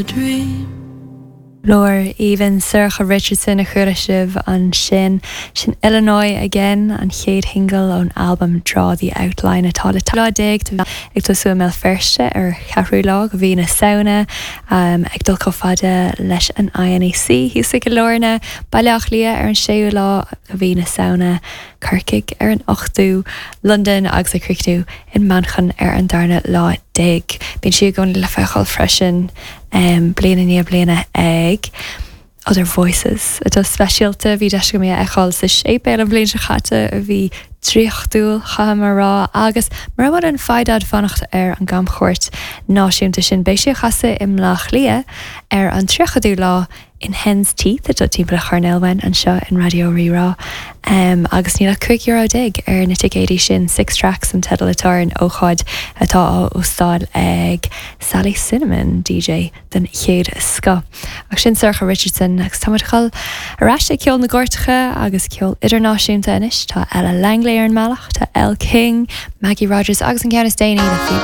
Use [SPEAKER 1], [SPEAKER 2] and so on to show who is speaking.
[SPEAKER 1] Dream.
[SPEAKER 2] Glór aoibhinn Sorcha Richardson a chuala sibh ansin. Sin Illinois Again, an chéad shingil ón albam Draw the Outline atá le lá déag ag tosú i mBéal Feirste ar cheathrú lá de mhí na Samhna, ag dul chomh fada leis an INEC thíos i gCill Airne, Baile Átha Cliath ar an séú lá de mhí na Samhna. Corcaigh ar an ochtú, Londain agus ag críochnú i Manchain ar an darna lá déag. Bíonn sí i gcónaí le feiceáil freisin bliain i ndiaidh bliana ag Other Voices, atá speisialta. Bhí deis agam í a fheiceáil sa séipéal an bhliain seo chaite, a bhí draíochtúil, chaithfidh mé a rá, agus mura bhfuil an foighid a'd fanacht ar an gcamchuairt náisiúnta sin, beidh sí ag casadh i mBleá Cliath ar an tríochadú lá in Hen's Teeth atá timpeall an choirnéil uainn anseo in Raidió Rí-Rá agus níl ach €15 euro ar na ticéidí sin. Six Tracks an teideal atá ar an ócáid atá á óstáil ag Sally Cinnamon, DJ den chéad scoth. Ach sin Sorcha Richardson agus tá muid ag dul ar ais ag ceol na gcairteacha agus ceol idirnáisiúnta anois. Tá Ella Langley ar an mbealach, tá Elle King, Maggie Rogers agus an ceann is déanaí le Phoebe.